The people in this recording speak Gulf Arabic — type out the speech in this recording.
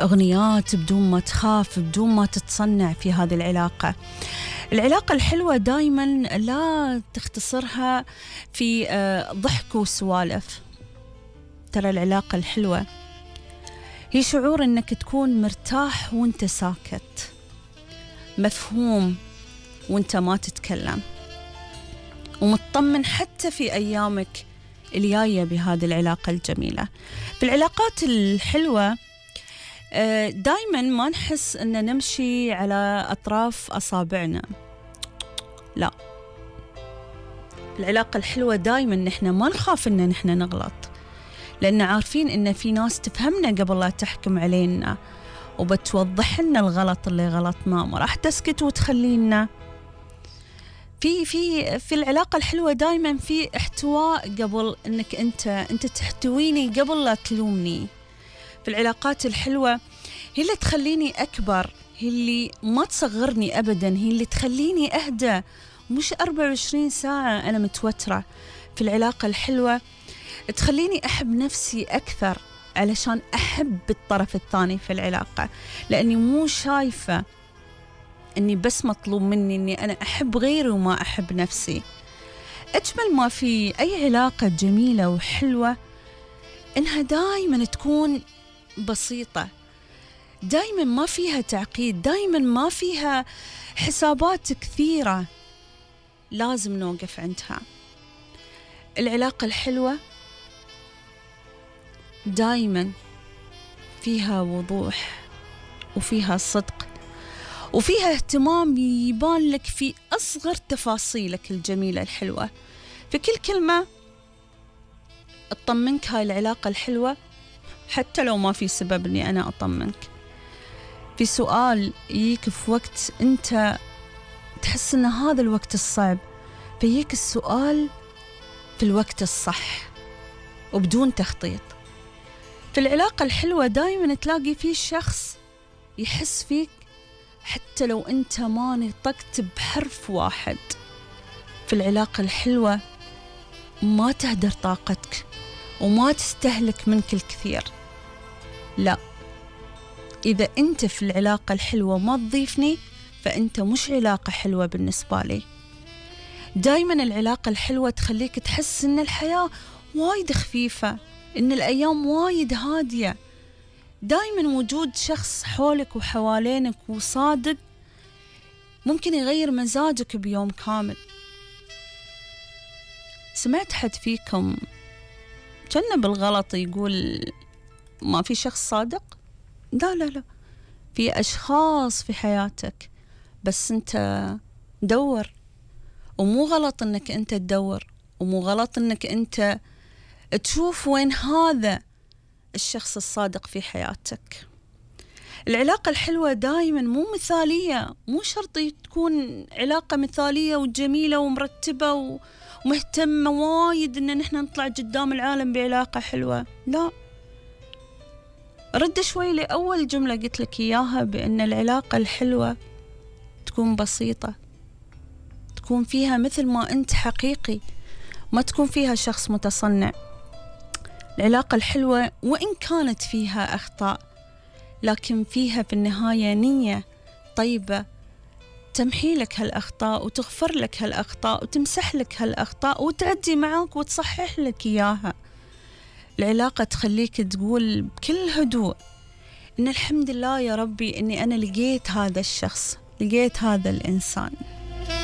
أغنيات بدون ما تخاف، بدون ما تتصنع في هذه العلاقة. العلاقة الحلوة دايما لا تختصرها في ضحك وسوالف. ترى العلاقة الحلوة هي شعور إنك تكون مرتاح وانت ساكت، مفهوم وانت ما تتكلم، ومطمن حتى في أيامك الجاية بهذه العلاقة الجميلة. في العلاقات الحلوة دايما ما نحس أن نمشي على أطراف أصابعنا، لا. العلاقة الحلوة دايما نحن ما نخاف أن نحن نغلط، لأن عارفين أن في ناس تفهمنا قبل لا تحكم علينا، وبتوضح لنا الغلط اللي غلطناه، ما راح تسكت وتخلينا. في العلاقة الحلوة دايما في احتواء، قبل انك انت تحتويني قبل لا تلومني. في العلاقات الحلوة هي اللي تخليني اكبر، هي اللي ما تصغرني ابدا، هي اللي تخليني اهدى، مش 24 ساعة انا متوترة. في العلاقة الحلوة تخليني احب نفسي اكثر، علشان احب الطرف الثاني في العلاقة، لاني مو شايفة أني بس مطلوب مني أني أنا أحب غيري وما أحب نفسي. أجمل ما في أي علاقة جميلة وحلوة إنها دايما تكون بسيطة، دايما ما فيها تعقيد، دايما ما فيها حسابات كثيرة لازم نوقف عندها. العلاقة الحلوة دايما فيها وضوح، وفيها صدق، وفيها اهتمام يبان لك في أصغر تفاصيلك الجميلة الحلوة. في كل كلمة أطمنك هاي العلاقة الحلوة، حتى لو ما في سبب أني أنا أطمنك. في سؤال يجيك في وقت أنت تحس أن هذا الوقت الصعب، فيجيك السؤال في الوقت الصح وبدون تخطيط. في العلاقة الحلوة دايما تلاقي فيه شخص يحس فيك حتى لو أنت ما نطقت بحرف واحد. في العلاقة الحلوة ما تهدر طاقتك وما تستهلك منك الكثير، لا. إذا أنت في العلاقة الحلوة ما تضيفني، فأنت مش علاقة حلوة بالنسبة لي. دايما العلاقة الحلوة تخليك تحس إن الحياة وايد خفيفة، إن الأيام وايد هادية. دايما وجود شخص حولك وحوالينك وصادق ممكن يغير مزاجك بيوم كامل. سمعت حد فيكم كان بالغلط يقول ما في شخص صادق؟ لا لا لا، في أشخاص في حياتك، بس أنت دور. ومو غلط أنك أنت تدور، ومو غلط أنك أنت تشوف وين هذا الشخص الصادق في حياتك. العلاقة الحلوة دايما مو مثالية، مو شرط تكون علاقة مثالية وجميلة ومرتبة ومهتمة وايد إن نحن نطلع قدام العالم بعلاقة حلوة، لا. رد شوي لأول جملة قلت لك إياها، بأن العلاقة الحلوة تكون بسيطة، تكون فيها مثل ما أنت حقيقي، ما تكون فيها شخص متصنع. العلاقة الحلوة وإن كانت فيها أخطاء، لكن فيها في النهاية نية طيبة تمحي لك هالأخطاء وتغفر لك هالأخطاء وتمسح لك هالأخطاء وتعدي معاك وتصحح لك إياها. العلاقة تخليك تقول بكل هدوء إن الحمد لله يا ربي إني أنا لقيت هذا الشخص، لقيت هذا الإنسان.